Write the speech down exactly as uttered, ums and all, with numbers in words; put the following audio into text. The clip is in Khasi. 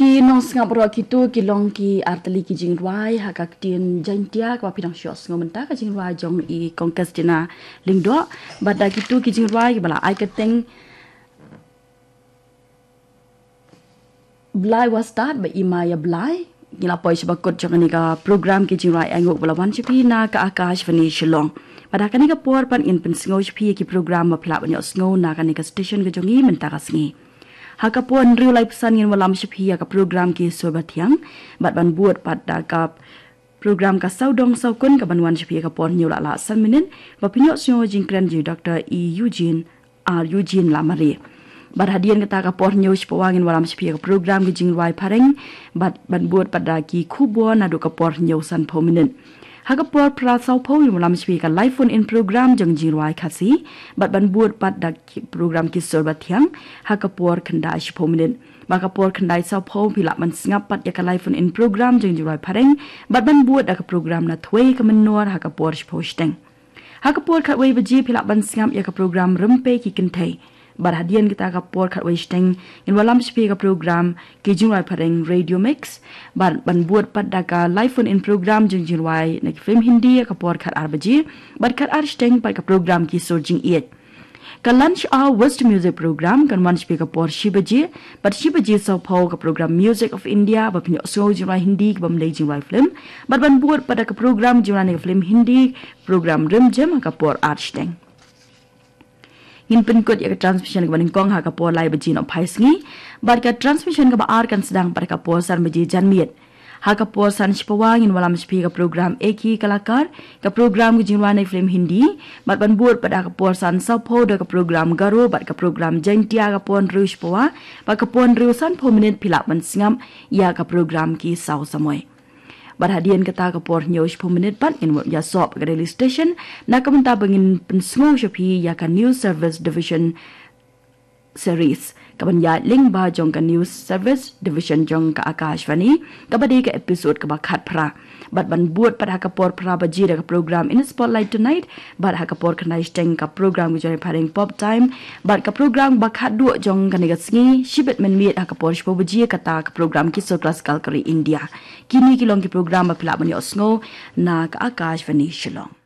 Ki nongsngap baroh, kito ki long ki artylli ki jingrwai ha ka ktien Jaintia kaba phi dang shu ïohsngew mynta, ka jingrwai jong i Kong Kestina Lyngdoh. Bad da kito ki jingrwai kiba la ai kyrteng Blai Wastad bad Ima ïa Blai, ngi la poi sha ba kut jong kane ka program ki jingrwai ainguh ba la wan sha phi na ka Akashvani Shillong. Bad ha kane ka por pat ngin pynsngew sha phi ïa ki program ba phi lah ban ïohsngew na kane ka station ka jong ngi mynta ka sngi. Ha ka por hynriew laiphew san ngin wallam sha phi ïa ka program Ki Sur Bathiang, bad ban bud pat da ka program Ka Sawdong Sawkun kaban wan sha phi ha ka por hynñiew la lah san minit, ba phin ïohsngew jingkren jong Doctor E Eugene, R Eugene Lamare. Bad hadien kata, ka por hynñiew shiphew wei ngin wallam sha phi ha ka program Ki Jingrwai Phareng, bad ban bud pat da ki khubor naduh ka por hynñiew sanphew minit. Ha ka por phra sawphew ngin wallam sha phi ka live phone in program jong jingrwai Khasi, bad ban bud pat da ki program Ki Sur Bathiang ha ka por khyndai shiphew minit. Bad ka por khyndai sawphew phi lah ban sngap pat ïa ka live phone in program jong jingrwai Phareng, bad ban bud da ka program Na Thwei Ka Mynnor ha ka por shiphew shiteng. Ha ka por khatwei baje phi lah ban sngap ïa ka program Rympei Ki Kynthei. Bad hadien kata, ka por khatwei shiteng ngin wallam sha phi ka program Ki Jingrwai Phareng Radio Mix, bad ban bud pat da ka live phone in program jong jingrwai na ki film Hindi ha ka por khatar baje, bad khatar shiteng pat ka program Ki Sur Jingïeit. Ka Lunch Hour West Music Program kan wan sha phi ka por shi baje, bad shi baje sawphew ka program Music of India, ba phin ïohsngew jingrwai Hindi kibym dei jingrwai film, bad ban bud pat da ka program jingrwai na ki film Hindi, program Rimjim ha ka por ar shiteng. Ngin pynkut ïa ka transmission kaba nyngkong ha ka por lai baje nohphai sngi, bad ka transmission kaba ar kan sdang pat ha ka por san baje janmiet. Ha ka por san shiphew wei ngin wallam sha phi ka program Ek Hi Kalakar, ka program ki jingrwai na ki film Hindi, bad ban bud pat ha ka por san sawphew da ka program Garo bad ka program Jaintia ha ka por hynriew shiphew wei, bad ka por hynriew sanphew minit phi lah ban sngap ïa ka program Ki Saw Samoi. Bad hadien kata, ka por hynñiew shiphew minit pat ngin ïasoh ka Delhi Station, na ka bynta ba ngin pynsngew sha phi ïa ka News Service Division Series, kaban ïaid lyngba jong ka News Service Division jong ka Akashvani, kaba dei ka episode kaba khatphra. Bad ban bud pat ha ka por phra baje da ka program In Spotlight Tonight, bad ha ka por khyndai shiteng ka program Ki Jingrwai Phareng Pop Time, bad ka program ba khatduh jong kane ka sngi, Shibit Mynmiet ha ka por shiphew baje, kata ka program Ki Sur Classical ka ri India. Kine ki long ki program ba phi lah ban ïohsngew na ka Akashvani Shillong.